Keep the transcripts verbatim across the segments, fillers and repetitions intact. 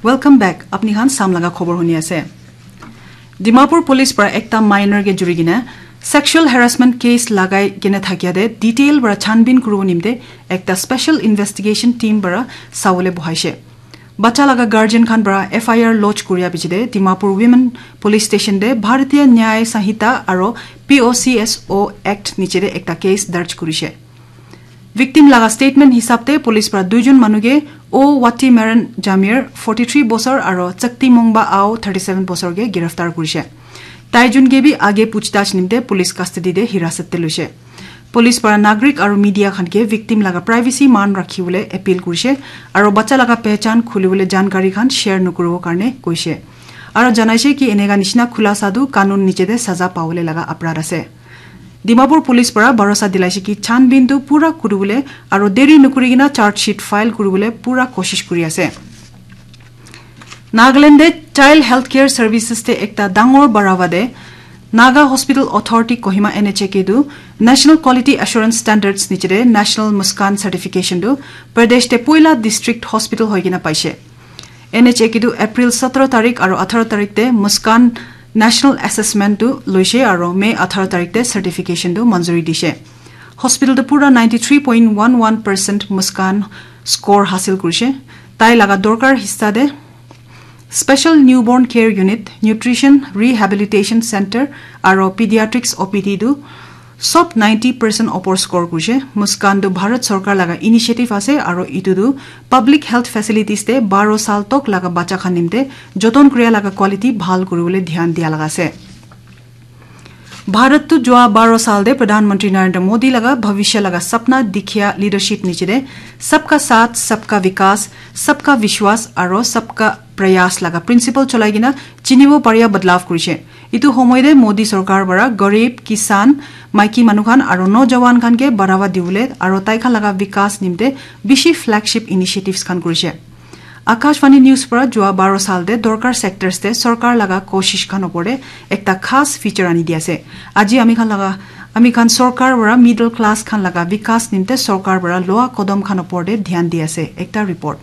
Welcome back. Apni khan Assam laga khobor huni ase. Dimapur police para ekta minor ke juri kena sexual harassment case lagai kena thakia de detail para chanbin kuribo nimte ekta special investigation team para sawole bohaise. Bacha laga guardian khan para F I R lodge kuria piche de Dimapur Women Police Station de Bharatiya Nyay Sanhita aro P O C S O Act niche de ekta case darj kurise. Victim laga statement hisab te police para duijon manu ke O Wati Meren Jamir, forty three bosor, aro Chakti Mongba Ao, thirty seven bosor ke giraftar kurise. Taijun ke bi age puchhtach nimte police custody de hirasat te luise. Police para nagrik aro media khan ke victim laga privacy man rakhi bole appeal kurise aro bacha laga pehchan khuli bole jankari khan share nokuribo karne koise. Aro janaise ki eneka nishina khulasa tu kanun niche de saza pawole laga aparad ase. Dimapur police para bharosa dilaise ki chanbin tu pura kuribole aro deri nokuri kena charge sheet file kuribole pura koshish kuri ase. Nagaland de Child Healthcare Services te ekta dangor barawa de Naga Hospital Authority Kohima N H A ke tu National Quality Assurance Standards niche de National Muskan Certification tu Pradesh te poila district hospital hoi kena paise. N H A ke tu April satro tarik aro atharo tarik te Muskan National Assessment tu loise aro May atharo tarik te certification tu manzuri dise. Hospital tu pura ninety three point one one percent Muskan score hasil kurise. Tai laga dorkar hissa de Special Newborn Care Unit, Nutrition Rehabilitation Center aro Pediatrics O P D tu sob ninety percent opor score kurise. Muskan tu Bharat Sarkar laga initiative ase aro itu tu public health facilities te baro sal tok laga bacha khan nimte joton kuria laga quality bhal kuribole dhyan dia laga ase. Bharat tu jua baro sal de Pradhan Mantri Narendra Modi laga bhavishya laga sapna dikhia leadership niche de sabka saath, sabka vikas, sabka vishwas aro sabka prayas laga principle cholai kena chinibo paria badlav kurise. Itu homoy de Modi sarkar para garib, kisan, maiki manu khan aro nojawan khan ke barawa dibole aro tai khan laga vikas nimte bishi flagship initiatives khan kurise. Akashvani News para jua baro sal de dorkar sectors te sarkar laga koshish khan opor de ekta khas feature ani di ase. Aji ami khan laga, ami khan sarkar para middle class khan laga vikas nimte sarkar para loa kodom khan opor de dhyan di ase. Ekta report.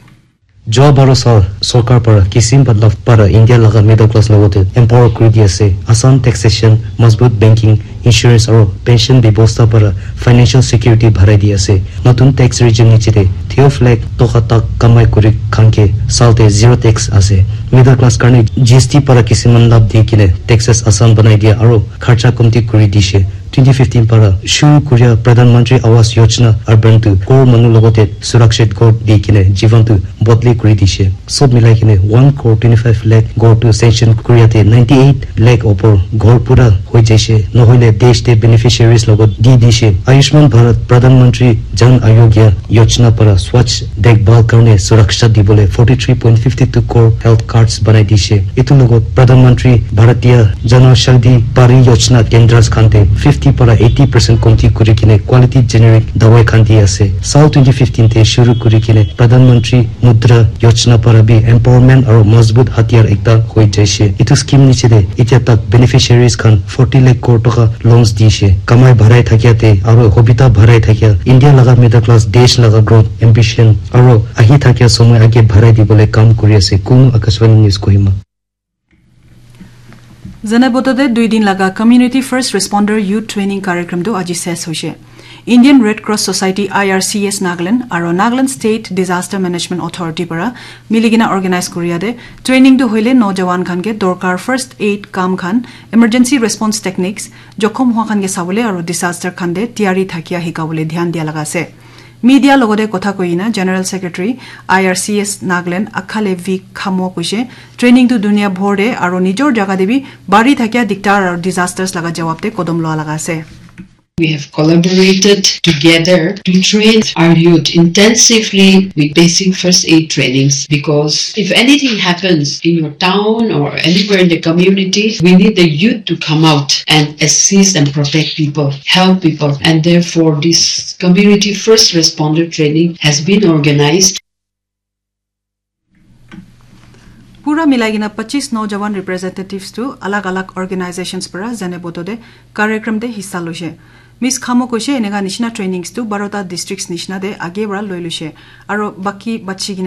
Jua baro sal sarkar para kisim badlav para India laga middle class logote empower kuri di ase. Asan taxation, mazbut banking, insurance aro pension bebosta para financial security bharai di ase. Notun tax regime niche de twelve lakh toka tak kamai kuri khan ke sal te zero tax ase. Middle class karne G S T para kisiman labh di kene taxes asan banai dia aro kharcha komti kuri dishe. Twenty fifteen para shuru kuria Pradhan Mantri Awas Yojana Urban tu ghor manu logote surakshit ghor di kene jivan tu bodli kuri dishe. Sob milai kene one crore twenty five lakh ghor tu sanction kuria te ninety eight lakh opor ghor pura hoi jaise, nohoile desh te beneficiaries logot di dishe. Ayushman Bharat, Pradhan Mantri Jan Arogya Yojana para Swachh Dekhbhal karne suraksha dibole forty three point fifty two crore health cards banai dishe. Itu logot Pradhan Mantri Bharatiya Janaushadhi Pariyojana Kendras khan te fifty para eighty percent komti kuri kene quality generic dawai khan di ase. Sal twenty fifteen te shuru kuri kene Pradhan Mantri Mudra Yojana para bi empowerment aro mazbut hatiyar ekta hoi jaise. Itu scheme niche de itya tak beneficiaries khan forty lakh crore toka loans dishe. Kamai bharai thakia te aro hobita bharai thakia India laga middle class desh laga growth ambition aro ahi thakia somoy age bharai dibole kam kuri ase. Kunu Akashvani News Kohima. Zane boto de dui din laga Community First Responder Youth Training Karyakrama tu aji ses hoise. Indian Red Cross Society, I R C S Nagaland aro Nagaland State Disaster Management Authority para miligina organize kuria de training tu hoile nojawan khan ke dorkar first aid kam khan, emergency response techniques, jokhom hua khan ke sabole aro disaster khan de tiyari thakia hikabole dhyan dia laga ase. Media logote kotha koina General Secretary I R C S Nagaland Akhale V Khamo koise, training tu dunia bhor de aro nijor jaga de bi bari thakia diktar aro disasters laga jawab de kodom loa laga ase. We have collaborated together to train our youth intensively with basic first aid trainings, because if anything happens in your town or anywhere in the community, we need the youth to come out and assist and protect people, help people. And therefore, this community first responder training has been organized. Pura milai kena pachis nojawan representatives tu alag alag organizations para zane boto de karyakrama de hissa loise. Miss Khamo koise eneka nishina trainings tu barota districts nishina de age para loi loise. Aro baki bachi kena